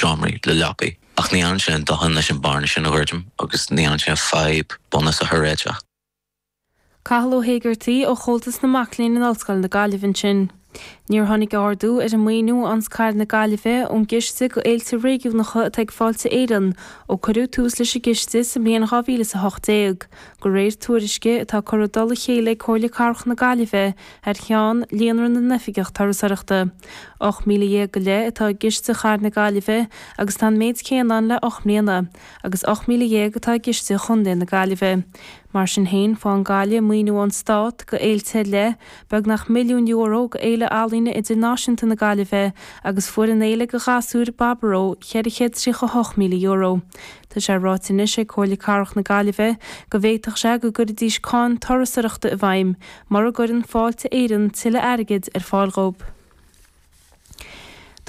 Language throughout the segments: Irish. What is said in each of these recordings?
seomraí le leapaí. Ach ní dhéanann sé aon dóthain leis an bearna sin a dhruidim agus ní dhéanann sé an fadhb bunúsach a réiteach. Cathal Ó hÉigeartaigh ó Chomhaltas na Mac Léinn in Ollscoil na Gaillimhe ansin. Níor tháinig ardú ar an maoiniú a fhaigheanns Cathair na Gaillimhe ón gCiste go Fhéilte Réigiúnacha atá ag Fáilte Éireann ó cuireadh tús leis an gciste sa mbliain 2018, de réir tuairisce atá curtha i dtoll a chéile ag Comhairle Cathrach na Gaillimhe thar cheann Líonra na nOifigeach Turasóireachta. 18,000 go leith atá i gciste Chathair na Gaillimhe agus tá an méid céanna ann le 8 mbliana, agus 18,000 atá i gciste Chontae na Gaillimhe. Mar sin féin, faigheann Gaillimh maoiniú ón Stát go fhéilte ar leith, beagnach €1 milliún go Fhéile Ealaíne Idirnáisiúnta na Gaillimhe agus fuair an fhéile go ghasúir, Baboró, €438,000. Tá sé ráite anois ag Comhairle Cathrach na Gaillimhe go bhféadfadh sé go gcuirfidís cáin turasóireachta i bhfeidhm mura gcuireann Fáilte Éireann tuilleadh airgid ar fáil dhóibh.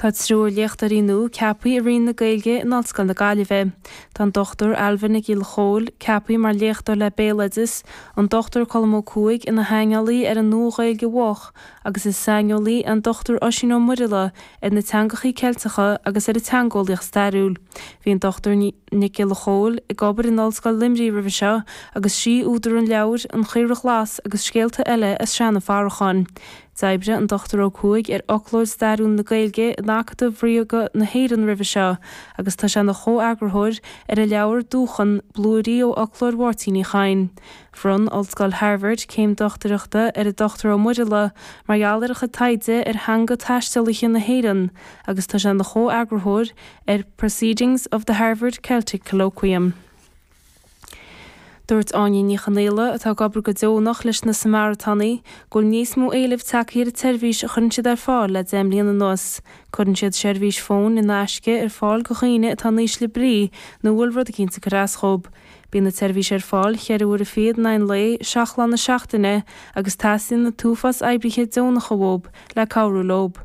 Tá triúr léachtóirí nua ceaptha i Roinn na Gaeilge in Ollscoil na Gaillimhe. Tá an Dr Ailbhe Nic Giolla Chomhaill ceaptha mar léachtóir le Béaloideas, an Dr Colm Ó Cuaig ina shaineolaí ar an Nua-Ghaeilge Mhoch agus is saineolaí an Dr Oisín Ó Muirthile ar na teangachaí Ceilteacha agus ar an teangeolaíocht stairiúil. Bhí an Dr Nic Giolla Chomhaill ag obair in Ollscoil Luimnigh roimhe seo agus sí údar an leabhair An Chaora Ghlas agus Scéalta Eile as Seanadh Farracháin. D'oibrigh an Dr Ó Cuaig ar Fhoclóir Stairiúil na Gaeilge in Acadamh Ríoga na hÉireann roimhe seo agus tá sé ina chomheagarthóir ar an leabhar Dúchan, Blúirí ó Fhoclóir Mháirtín Uí Chadhain. Bhronn Ollscoil Harvard céim dochtúireachta ar an Dr Ó Muirthile mar gheall ar a chuid taighde ar theanga taistealaithe na hÉireann agus tá sé ina chomheagarthóir ar Proceedings of the Harvard Celtic Colloquium. Dúirt Áine Ní Chonaola, atá ag obair go deonach leis na Samaritánaigh, go bhfuil níos mó éilimh tagtha ar an tseirbhís a chuireann siad ar fáil le 10 mbliana anuas. Cuireann siad seirbhís fóin in aisce ar fáil go dhaoine atá in ísle brí nó a bhfuil rud eicínt ag cur as dhób. Bíonn an tseirbhís ar fáil cheithre huaire fichead in aghaidh an lae, seacht lá na seachtaine, agus teastaíonn an t-uafás oibrithe deonacha uathub le cabhrú leob.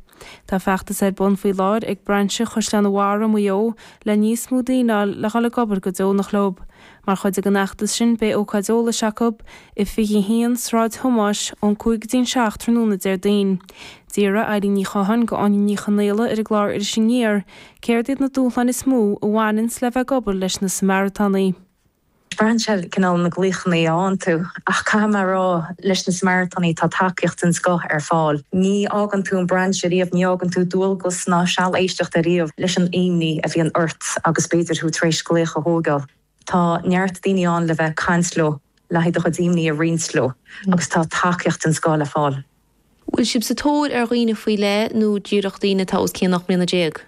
Tá feachtas ar bun faoi láthair ag brainse Chaisleán an Bharraigh i Maigh Eo le níos mó daoine a fháil le dhul ag obair go deonach leob. Mar chuid den fheachtas sin beidh ócáid eolais acu i 21 Sráid Thomáis ón 5 go dtí'n 7 tráthnóna Déardaoin. D'fhiafraigh Eilín Ní Chatháin go Áine Ní Chonaola ar an gclár Iris Aniar céard iad na dúshláin is mó a bhaineanns le bheith ag obair leis na Samaritánaigh. Braitheann sé cineál na glaochanna a fhaigheann tú, ach caithfidh mé a rá, leis na Samaritánaigh tá tacaíocht den scoth ar fáil. Ní fhágann tú an brainse riamh, ní fhágann tú dualgas ná seal éisteachta riamh leis an imní a bhíonn ort agus b'fhéidir thú tar éis glaoch a thógáil. Tá neart daoine ann le bheith ag caint leo, le haghaidh do chuid imní a roinnt leo agus tá tacaíocht den scoth le fáil. Bhfuil sibh sa tóir ar dhaoine faoi leith nó díreach daoine atá os cionn 18 mbliana?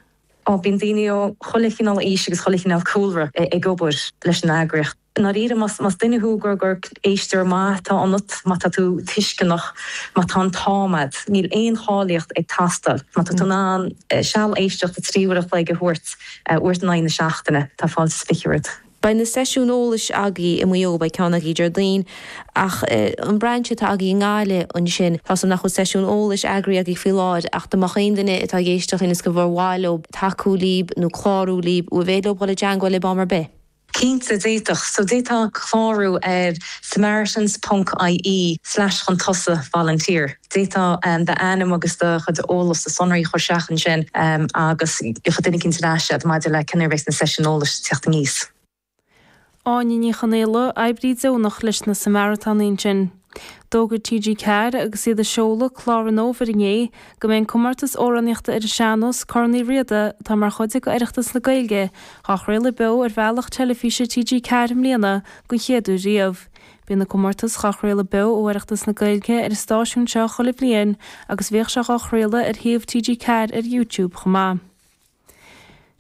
Ó, bíonn daoine ó chuile chineál aois agus chuile chineál cúlra ag obair leis an eagraíocht. I ndáiríre, más duine thú gur gur éisteoir maith atá ionat, má tá tú tuisceanach, má tá an t-am agat, níl aon cháilíocht ag teastáil. Má tá tú in ann seal éisteachta 3 uair a chloig a thabhairt uair in aghaidh na seachtaine, tá fáilte is fiche romhat. Beidh na seisiúin eolais agaibh i Maigh Eo, beidh ceann agaibh Déardaoin, ach an brainse atá agaibh i nGaillimh ansin, tá 's agam nach bhfuil seisiún eolais eagraithe agaibh faoi láthair, ach dá mbeadh aon duine atá ag éisteacht linn is gur mhaith leo tacú libh nó clárú libh, an féidir leo dul i dteangmháil libh am ar bith? Cinnte, d'fhéadfadh. So d'fhéadfá clárú ar samaritans ponc ie slash chun tosaigh volunteer. D'fhéadfá d'ainm agus do chuid eolais, do sonraí a chur isteach ansin agus gheobhaidh duine eicínt ar ais iad maidir le cén uair a bheas na seisiúin eolais ag teacht aníos. Áine Ní Chonaola, oibrí deonach leis na Samaritánaigh ansin. D'fhógair TG4 agus iad ag seoladh clár an fhómhair inné go mbeidh an comórtas amhránaíochta ar an sean-nós, Corn Uí Riada, atá mar chuid de Oireachtas na Gaeilge, á chraoladh beo ar bhealach teilifíse TG4 i mbliana den chéad uair riamh. Bíonn an comórtas dhá chraoladh beo ó Oireachtas na Gaeilge ar an stáisiún seo chuile bhliain agus bhíodh sé dhá chraoladh ar shuíomh TG4 ar YouTube chomh maith.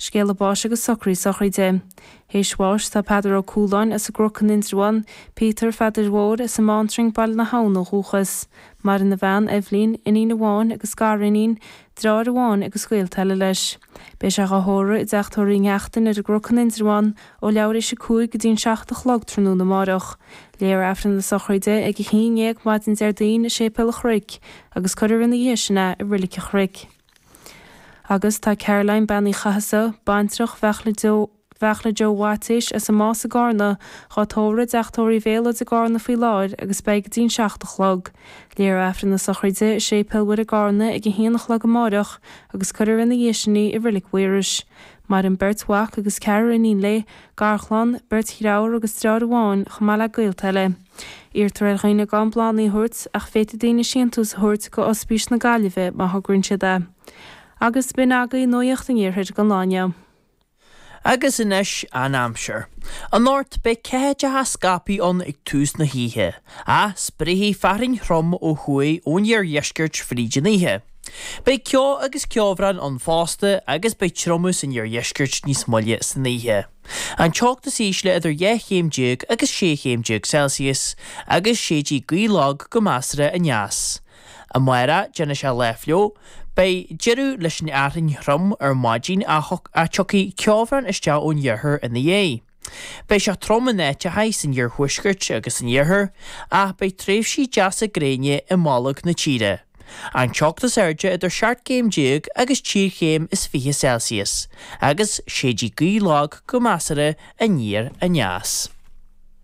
Scéala báis agus socruithe sochraide. Théis bháis tá Peadar Ó Cualáin as an gCnoc in Indreabhán, Peter Pheadair Mhóir as an mBántrang Baile na hAbhann ó dhúchas. Maireann a bhean, Eibhlín, iníon amháin agus gariníon, deartháir amháin agus gaolta eile leis. Beidh sé dhá thórramh i dteach tórraimh Uí Neachtain ar an gCnoc in Indreabhán ó leathuair théis a 5 go dtí'n 7 a chlog tráthnóna amáireach. Léifear Aifreann na sochraide ag 11 maidin Déardaoin i Séipéal an Chnoic agus cuirfear ina dhiaidh sin é i Roilig an Chnoic. Agus tá Caroline Bean Uí Chathasaigh, baintreach Bheachla. Bheartla Joe Mhaitéis as an Más i gCarna, dhá tórramh i dTeach Tórraimh Mhéalóid i gCarna faoi láthair agus beidh go dtí'n 7 a chlog. Léifear Aifreann na sochraide i Séipéal Mhuire i gCarna ag a haon a chlog amáireach agus cuirfear ina dhiaidh sin í i Reilig Mhaorais. Maireann beirt mhac agus ceathrar iníon léi, garchlann, beirt dhreabhar agus dreáir amháin, chomh maith le gaolta eile. Iarrtar ar dhaoine gan bláthanna a thabhairt ach féadfaidh daoine síntiús a thabhairt go Ospís na Gaillimhe má thograíonn siad é. Agus b'in agaibh Nuacht an Iarthair don lá inniu. Agus anois an aimsir. Anocht beidh ceathaideacha scaipthe ann ag tús na hoíche, ach spréifidh fearthainn throm ó thuaidh ón iardheisceart fríd an oíche. Beidh ceo agus ceobhrán ann fosta agus beidh triomú san iardheisceart níos moille san oíche. An teocht is ísle idir 12 chéim agus 16 chéim Celsius agus séidfidh gaoth lag go measartha aneas. Amárach, déanfaidh sé lá fliuch. Beidh deireadh leis an fhearthainn throm ar maidin ach tiocfaidh ceobhrán isteach ón iarthar ina dhiaidh. Beidh sé trom in áiteacha san iarthuaisceart agus san iarthar ach beidh tréimhsí deasa gréine i mbolg na tíre. An teocht is airde idir 17 céim agus 23 chéim Celsius agus séidfidh gaoth lag go measartha aniar aneas.